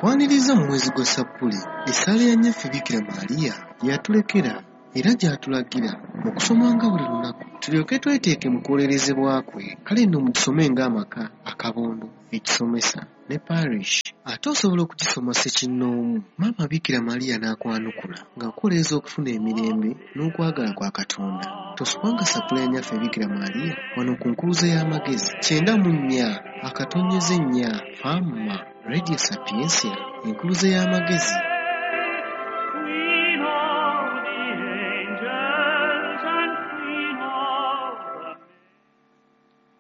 Nkwaniriza mu mwezi gwa Ssappule, essaala ya Nnyaffe Bikira Maria gye yatulekera era gy'atulagira okusomanga buli lunaku tulyoke tweteeke mu kwolerezebwa kwe. Kale nno mugisome ng'amaka, akabondo, ekisomesa ne parish. Ate osobola okugisoma ssekinnoomu, Maama Bikira Maria n'akwanukula ng'akwolereza okufuna emirembe n'okwagala kwa Katonda. Tosubwanga Ssappule ya Nnyaffe Bikira Maria wano ku Nkuluze y'Amagezi 94.4 Fama Radio Sapientia, Enkuluze y'Amagezi. Queen of the angels and Queen of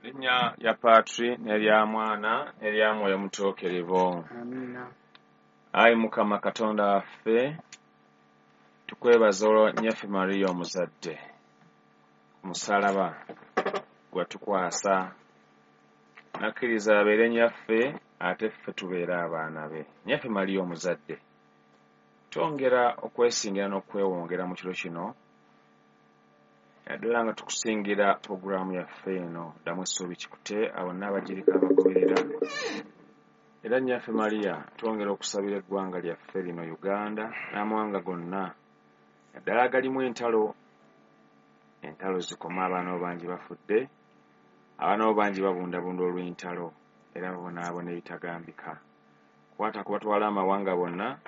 the Linnya lya Patri n'erya Mwana n'erya Mwoyo Mutuukirivu. Amiina. Ayi Mukama Katonda waffe, tukwebaza olwa Nnyaffe Mariya omuzadde ku musaalaba gwe watukwasa. Nakkiriza abeere Nnyaffe ate ffe tubeere abaana be. Nnyaffe Mariya omuzadde, twongera okwesingira n'okwewongera mu kiro kino, naddala nga tukusingira pulogulaamu yaffe eno Ddamu Essuubi Kikute, abo n'abagiriko abagoberera. Era Nnyaffe Mariya twongera okusabira eggwanga lyaffe lino Uganda n'amawanga gonna, naddala agalimu entalo. Entalo zikoma, abaana bo bangi bafudde, abaana bo bangi babundabunda olw'entalo era babonaabona ebitagambika. Kwata ku batwala amawanga bonna,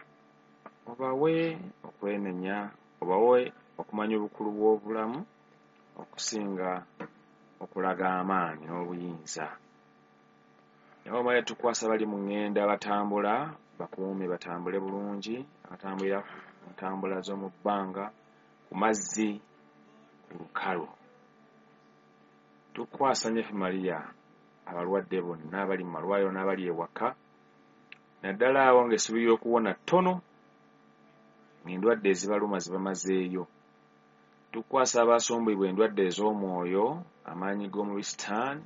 obawe okwenenya, obawe okumanya obukulu bw'obulamu okusinga okulaga amaanyi n'obuyinza. Naye omale tukwasa bali mu ŋŋenda batambula, bakuume batambule bulungi, abatambulira ku ntambula z'omu bbanga, ku mazzi, ku lukalu. Tukwasa Nnyaffe Mariya abalwadde bonna abali mu malwaliro n'abali ewaka, naddala abo ng'essuubi ly'okuwona ttono, ng'endwadde ezibaluma zibamazeeyo. Tukwasa abasombibwa endwadde ez'omwoyo, amaanyi g'omubi Sitaani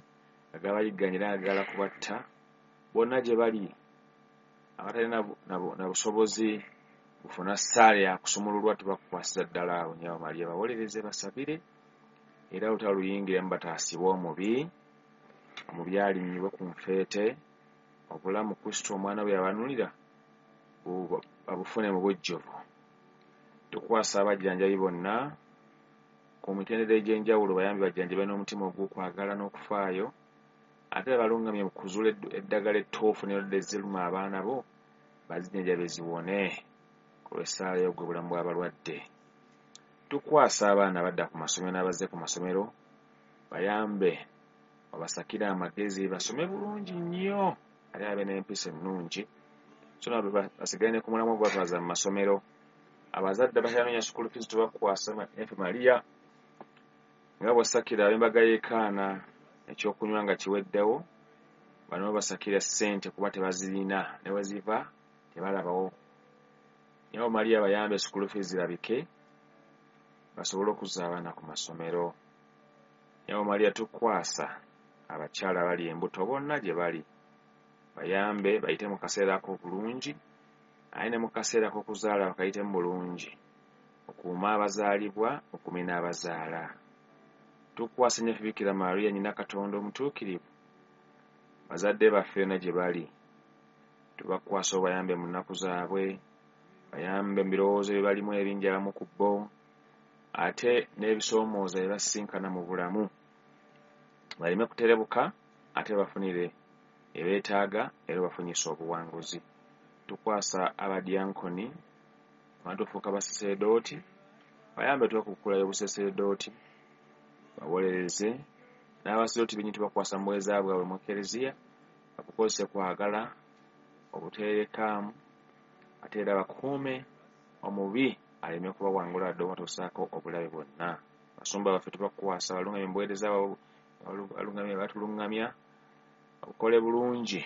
nga gabayigganya era nga gagala kubatta, bonna gye bali abatalina na busobozi bufuna ssaala ya kusumululwa, tubakwasiza ddala awo Nnyabo Mariya bawolereze basabire, era olutalo luyingiremu bataasibwe omubi, omubi alinnyibwe ku nfeete, obulamu Kristo omwana we yabanunulira babufune mu bujjuvu. Tukwasa abajjanjabi bonna ku mitendera egy'enjawulo, bayambe bajjanjabe n'omutima ogw'okwagala n'okufaayo, ate babalungamye mu kuzuula eddagala ettuufu n'endwadde eziruma abaana bo bazijjanjabe ziwone ku lw'essaala y'ogwo obulamu bw'abalwadde. Tukwasa abaana abadda ku masomero n'abazze ku masomero, bayambe babasakire amagezi basome bulungi nnyo ate babe n'empisa ennungi, so nabo basigale ne ku mulamwa ogwatwaza mu masomero. Abazadde abakyanoonya school fees tubakwasa Nnyaffe Mariya nga bw'osakira ab'embaga y'e Kaana ekyokunywa nga kiweddewo, bano basakira ssente kuba tebazirina ne we ziva tebalabawo. Nnyabo Mariya bayambe school fees zirabike basobole okuzza abaana ku masomero. Nnyabo Mariya tukwasa abakyala abali embuto bonna gye bali, bayambe bayite mu kaseera ako bulungi, aye ne mu kaseera ak'okuzaala bakayitemu bulungi, okuuma abazaalibwa, okuume n'abazaala. Tukwasa Nnyaffe Bikira Maria nnyina Katonda omutuukirivu, bazadde baffe yonna gye bali, tubakwasa obayambe mu nnaku zaabwe, bayambe mu birowoozo bye balimu ebingi abamu ku bo, ate n'ebisoomooza bye basisinkana mu bulamu, baleme kuterebuka ate bafunire ebeetaaga era bafunyise obuwanguzi. Tukwasa abadyankoni abatufuuka basaseredooti, bayambe twekukulayo obusaseredooti, bawolereze n'abasaseredooti bennyini tubakwasa mu buweereza bwabwe mu Ekereziya, babukozese kwagala, obuteerekaamu, ate era bakuume omubi aleme kubawangula wadde obatuusaako obulabe bwonna. Basumba baffe tubakwasa balungamye mu buweereza bwabwe, batulungamya obukole bulungi,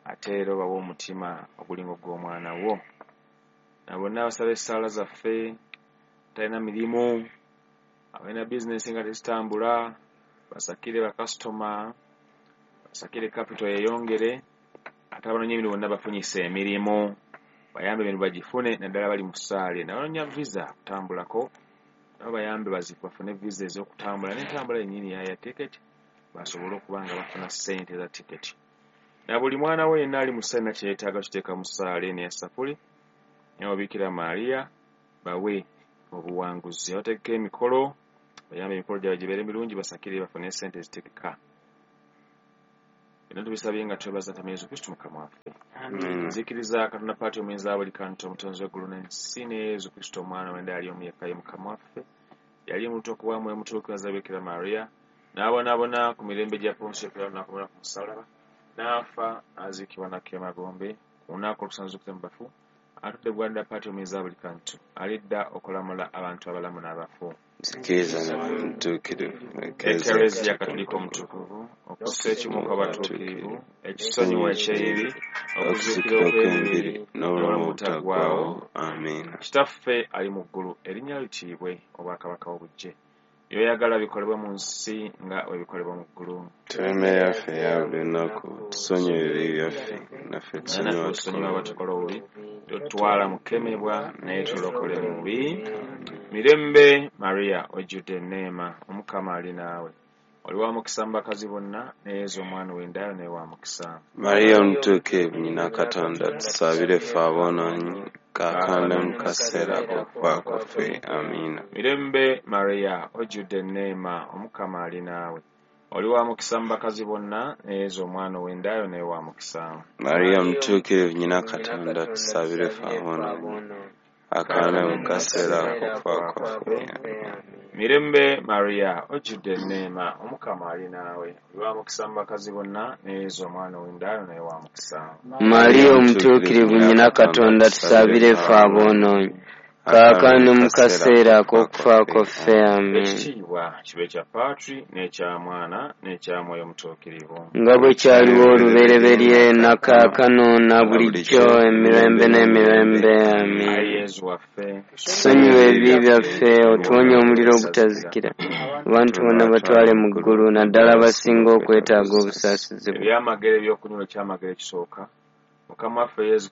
ate era obawe omutima ogulinga ogw'omwana wo. Na bonna abasaba essaala zaffe, atalina mirimu, abalina bizinensi nga tezitambula, basakire bakasitoma, basakire kapito yeeyongere, ate abanoonya emirimu bonna bafunyise emirimu, bayambe emirimu bagifune, naddala bali mu ssaala. N'abanoonya visa okutambulako, nabo bayambe bafune visa ez'okutambula n'entambula yennyini ya tiketi, basobole okuba nga bafuna ssente za tiketi. Na buli mwana we yenna ali mu ssaala yenna kye yeetaaga kiteeka mu ssaala eno eya ssapuli, naye Bikira Maria bawe obuwanguzi. Abategeka emikolo bayambe emikolo gyabwe gibeere mirungi, basakire bafune ssente ezitegeka. Byonna tubisabye nga twebaza Mukama Yesu Kristo Mukama waffe. Nzikiriza Katonda Paati omuyinza wa buli kantu, omutonzi w'eggulu n'ensi, ne Yesu Kristo omwana w'enda yali omu yekka ye Mukama waffe, yali omuntu okuba mwe mutuukiriza Bikira Maria, n'abonaabona ku mirembe gya Ponsiyo Piraato, n'akomerera ku musaalaba, n'afa, n'aziikibwa n'akka emagombe, ku lunaku olwokusatu n'azuukira mu bafu, atudde bugwanjuba Paati omuyinza wa buli kantu, alidda okulamula abantu abalamu n'abafu. Nzikiriza Mwoyo Mutuukirivu, Ekereziya Katolika omutukuvu, okussa ekimu kw'abatuukirivu, ekisonyiwa eky'ebibi, okuzuukira okw'emibiri n'obulamu obutaggwaawo. Amiina. Kitaffe ali mu ggulu, erinnya lyo litiibwe, obwakabaka bwo bujje. By'oyagala bikolebwe mu nsi nga bwe bikolebwa mu ggulu. Tuwe emmere yaffe eya buli lunaku, tusonyiwe ebibi byaffe, naffe Naye naffe tusonyiwa tusonyiwa abatukola abatukola obubi, totutwala mu kukemebwa, naye tulokole mu bubi. Mirembe Maria, ojjudde enneema, Omukama ali naawe. Oli wa mukisa mu bakazi bonna, ne Yesu omwana ow'endayo naye wa mukisa. Mariya omutuukirivu nnyina Katonda, tusabire ffe aboonoonyi, kaakano ne mu kaseera ak'okufa kwaffe. Amiina. Mirembe Maria, ojjudde enneema, Omukama ali naawe. Oli wa mukisa mu bakazi bonna, ne Yesu omwana ow'endayo naye wa mukisa. Mariya omutuukirivu nnyina Katonda, tusabire ffe aboonoonyi, kaakano ne mu kaseera ak'okufa kwaffe. Amiina. Mirembe Maria, ojjudde enneema, Omukama ali naawe. Oli wa mukisa mu bakazi bonna, ne Yesu omwana ow'endayo naye wa mukisa. Mariya omutuukirivu nnyina Katonda, tusabire ffe aboonoonyi, kaakano mu kaseera ak'okufa kwaffe. Amiina. Ekitiibwa kibe kya Patri n'ekya Mwana n'ekya Mwoyo Mutuukirivu. Nga bwe kyaliwo olubereberye na kaakano na bulijjo emirembe n'emirembe. Amiina. Ayi Yesu waffe, Tusonyiwe ebibi byaffe, otuwonye omuliro ogutazikira, abantu bonna batwale mu ggulu, naddala abasinga okwetaaga obusaasizi bwo. Ebyamagero ebyokunywa ekyamagero ekisooka, Mukama waffe Yesu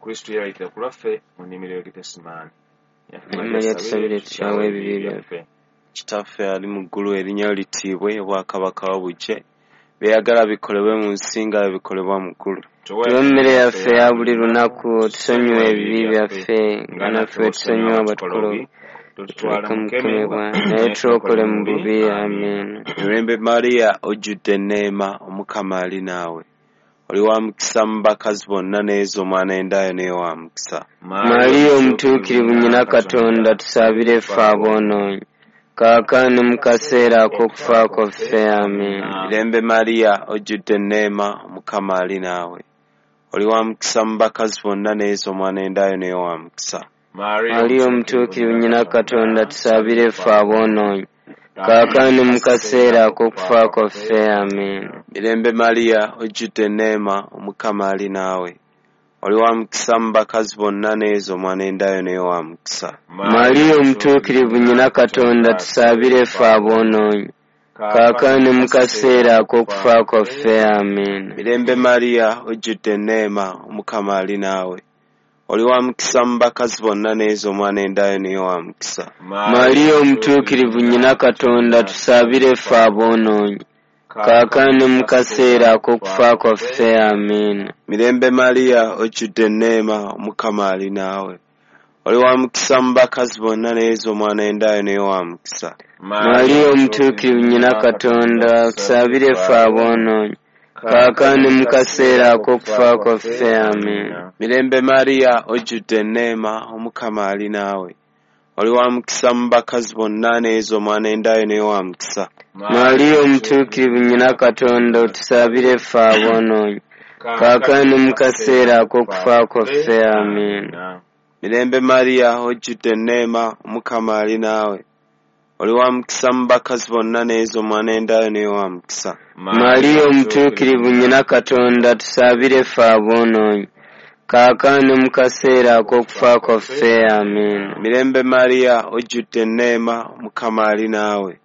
Kristo yeeraliikirira ku lwaffe mu nnimiro y'e Getesemaani. Maria, tusabire tukyawe ebibi byaffe. Kitaffe ali mu ggulu, erinnya lyo litiibwe, obwakabaka bwo bujje, by'oyagala bikolebwe mu nsi nga bwe bikolebwa mu ggulu. Tuwe emmere yaffe eya buli lunaku, otusonyiwe ebibi byaffe nga naffe bwe tusonyiwa abatukola obubi, Totutwala tuleke mu mu kukemebwa, kukemebwa, naye tulokole mu bubi. Amiina. Mirembe Mariya, ojjudde enneema, Omukama ali naawe. Oli wa mukisa mu bakazi bonna, ne Yesu omwana w'endayo naye wa mukisa. Mariya omutuukirivu nnyina Katonda, tusabire ffe aboonoonyi, kaakano mu kaseera ak'okufa kwaffe. Amiina. Mirembe Mariya, ojjudde enneema, Omukama ali naawe. Oli wa mukisa mu bakazi bonna, ne Yesu omwana w'endayo naye wa mukisa. Mariya omutuukirivu nnyina Katonda, tusabire ffe aboonoonyi, kaakano mu kaseera ak'okufa kwaffe. Amiina. Mirembe Mariya, ojjudde enneema, Omukama ali naawe. Oli wa mukisa mu bakazi bonna, ne Yesu omwana w'endayo naye wa mukisa. Mariya omutuukirivu nnyina Katonda, tusabire ffe aboonoonyi, kaakano mu kaseera ak'okufa kwaffe. Amiina. Mirembe Mariya, ojjudde enneema, Omukama ali naawe. Oli wa mukisa mu bakazi bonna, ne Yesu omwana w'endayo naye wa mukisa. Mariya omutuukirivu nnyina Katonda, tusabire ffe aboonoonyi, kaakano mu kaseera ak'okufa kwaffe. Amiina. Mirembe Mariya, ojjudde enneema, Omukama ali naawe. Oli wa mukisa mu bakazi bonna, ne Yesu omwana w'endayo naye wa mukisa. Mariya omutuukirivu nnyina Katonda, tusabire ffe aboonoonyi, kaakano mu kaseera ak'okufa kwaffe. Amiina. Mirembe Mariya, ojjudde enneema, Omukama ali naawe. Oli wa mukisa mu bakazi bonna, ne Yesu omwana w'endayo naye wa mukisa. Mariya omutuukirivu nnyina Katonda, otusabire ffe aboonoonyi, kaakano mu kaseera ak'okufa kwaffe. Amiina. Mirembe Mariya, ojjudde enneema, Omukama ali naawe. Oli wa mukisa mu bakazi bonna, ne Yesu omwana w'endayo naye wa mukisa. Mariya omutuukirivu nnyina Katonda, tusabire ffe aboonoonyi, kaakano mu kaseera ak'okufa kwaffe. Amiina. Mirembe Mariya, ojjudde enneema, Omukama ali naawe.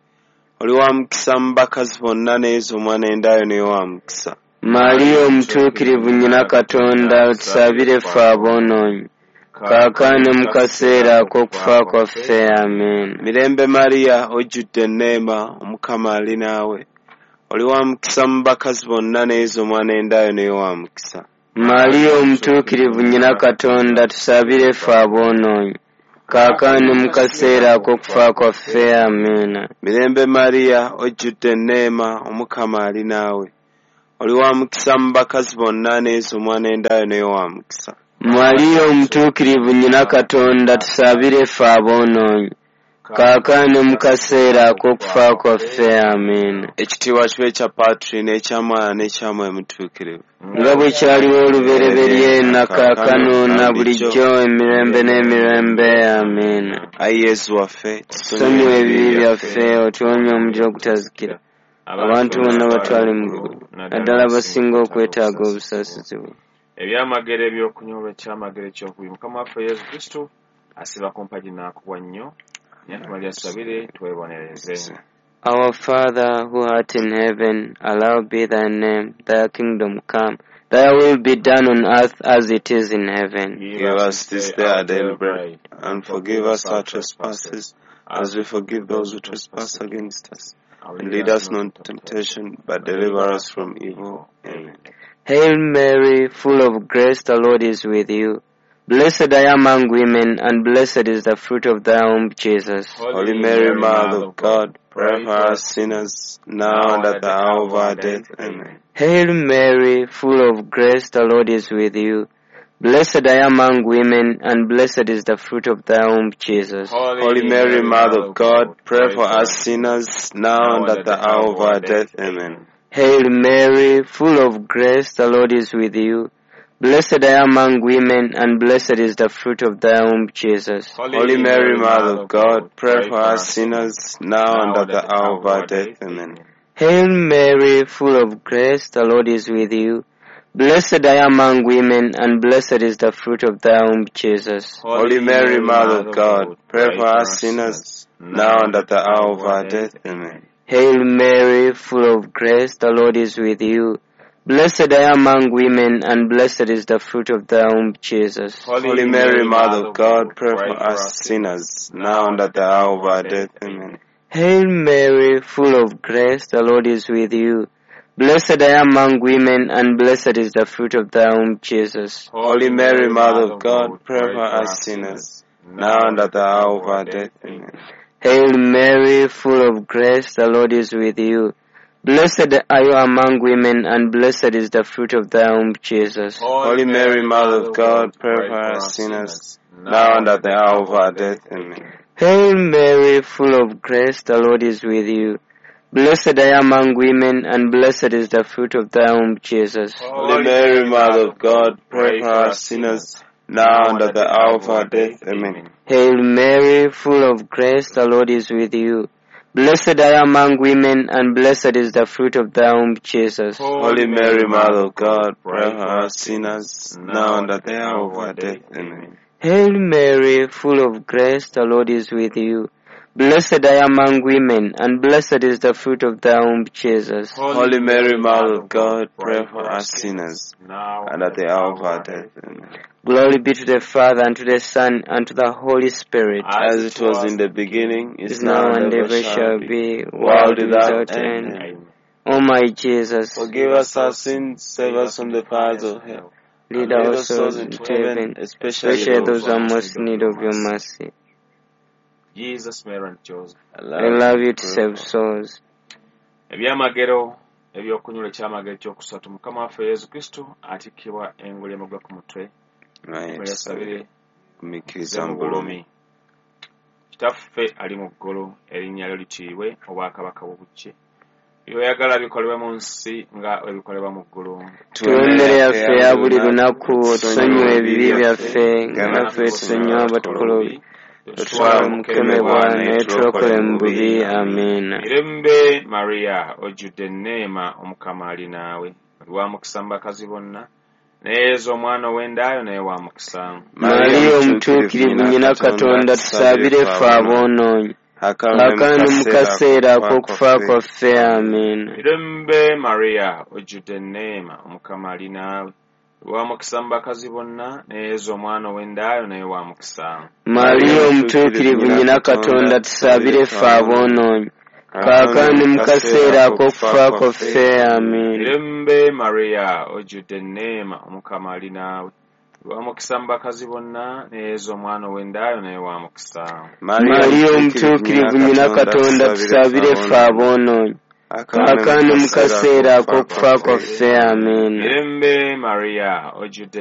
Oli wa mukisa mu bakazi bonna, ne Yesu omwana w'endayo naye wa mukisa. Mariya omutuukirivu nnyina Katonda, tusabire ffe aboonoonyi, kaakano mu kaseera ak'okufa kwaffe. Amiina. Mirembe Mariya, ojjudde enneema, Omukama ali naawe. Oli wa mukisa mu bakazi bonna, ne Yesu omwana w'endayo naye wa mukisa. Mariya omutuukirivu nnyina Katonda, tusabire ffe aboonoonyi, kaakano ne mu kaseera ak'okufa kwaffe. Amiina. Mirembe Mariya, ojjudde enneema, Omukama ali naawe. Oli wa mukisa mu bakazi bonna, ne Yesu omwana w'endayo naye wa mukisa. Mariya omutuukirivu nnyina Katonda, tusabire ffe aboonoonyi, kaakano ne mu kaseera ak'okufa kwaffe. Amiina. Ekitiibwa kibe ekya Patri n'ekya Mwana n'ekya Mwoyo Mutuukirivu. Nga bwe kyaliwo olubereberye na kaakano na bulijjo emirembe n'emirembe. Amiina. Ayi Yesu waffe, tusonyiwe ebibi byaffe, otuwonye omuliro ogutazikira, abantu bonna batwale mu ggulu, naddala abasinga okwetaaga obusaasizi bwo. Ebyamagero ebyokunyolwa, ekyamagero ekyokubiri, Mukama waffe Yesu Kristo asiba ku mpagi n'akubwa nnyo. Nyatumali asabire twebonereze. Our Father who art in heaven, hallowed be thy name. Thy kingdom come, thy will be done on earth as it is in heaven. Give us this day our daily bread, and forgive us our trespasses, as we forgive those who trespass against us. And lead us not into temptation, but deliver us from evil. Amen. Hail Mary, full of grace, the Lord is with you. Blessed are you among women, and blessed is the fruit of thy womb, Jesus. Holy Mary, Mother of God, pray for us sinners, now and at the hour of our death. Amen. Hail Mary, full of grace, the Lord is with you. Blessed are you among women, and blessed is the fruit of thy womb, Jesus. Holy Mary, Mother of God, pray for us sinners, now and at the hour of our death. Amen. Hail Mary, full of grace, the Lord is with you. Blessed are you among women, and blessed is the fruit of thy womb, Jesus. Holy Mary, Mother of God, pray for us sinners, now and at the hour of our death. Amen. Hail Mary, full of grace, the Lord is with you. Blessed are you among women, and blessed is the fruit of thy womb, Jesus. Holy Mary, Mother of God, pray for us sinners, now and at the hour of our death. Amen. Hail Mary, full of grace, the Lord is with you. Blessed are you among women, and blessed is the fruit of thy womb, Jesus. Holy Mary, Mother of God, pray for us sinners, now and at the hour of our death. Amen. Hail Mary, full of grace, the Lord is with you. Blessed are you among women, and blessed is the fruit of thy womb, Jesus. Holy Mary, Mother of God, pray for us sinners, now and at the hour of our death. Amen. Hail Mary, full of grace, the Lord is with you. Blessed are you among women, and blessed is the fruit of thy womb, Jesus. Holy Mary, Mother of God, pray for us sinners, now and at the hour of our death. Amen. Hail Mary, full of grace, the Lord is with you. Blessed are you among women, and blessed is the fruit of thy womb, Jesus. Holy Mary, Mother of God, pray for us sinners, now and at the hour of our death. Amen. Hail Mary, full of grace, the Lord is with you. Blessed are you among women, and blessed is the fruit of thy womb, Jesus. Holy Mary, Mother of God, pray for us sinners, now and at the hour of our death. Amen. Hail Mary, full of grace, the Lord is with you. Blessed are you among women, and blessed is the fruit of thy womb, Jesus. Holy Mary, Mother of God, pray for us sinners, and at the hour of our death. Amen. Glory be to the Father, and to the Son, and to the Holy Spirit. As it was in the beginning, is now, and ever shall be, world without end. Amen. O my Jesus, Forgive us our sins, save us from the fires of hell. lead our souls into heaven, especially those who are most in need of your mercy. Jesus, Mary and Joseph. I love you to save souls. Ebyamagero ebyokunyula, ekyamagero ekyokusatu, Mukama waffe Yesu Kristo atikkibwa engule y'amaggwa ku mutwe. Mweyasabire Kumikkiriza mu bulumi. Kitaffe ali mu ggulu, erinnya lyo litiibwe, obwakabaka bwo bujje, by'oyagala bikolebwe mu nsi nga bwe bikolebwa mu ggulu. Tuwe emmere yaffe eya buli lunaku, otusonyiwe ebibi byaffe nga naffe tusonyiwa abatukola obubi, totutwala mu kukemebwa, naye tulokole mu bubi. Amiina. Mirembe Mariya, ojjudde enneema, Omukama ali naawe, oli wa mukisa mu bakazi bonna, naye Yesu omwana ow'endaayo naye wa mukisa. Mariya omutuukirivu nnyina Katonda, tusabire ffe aboonoonyi, kaakano ne mu kaseera ak'okufa kwaffe. Amiina. Mirembe Mariya, ojjudde enneema, Omukama ali naawe, oli wa mukisa mu bakazi bonna, naye Yesu omwana ow'endaayo naye wa mukisa. Mariya omutuukirivu nnyina Katonda, tusabire ffe aboonoonyi, Kaakano ne mu kaseera ak'okufa kwaffe. Amiina. Mirembe Maria, ojjudde enneema, Omukama ali naawe. Wa mukisa mu bakazi bonna, ne Yezu omwana ow'endaayo naye wa mukisa. Mariya omutuukirivu nnyina Katonda, tusabire ffe aboonoonyi, kaakano ne mu kaseera ak'okufa kwaffe. Amiina. Mirembe Maria, ojjudde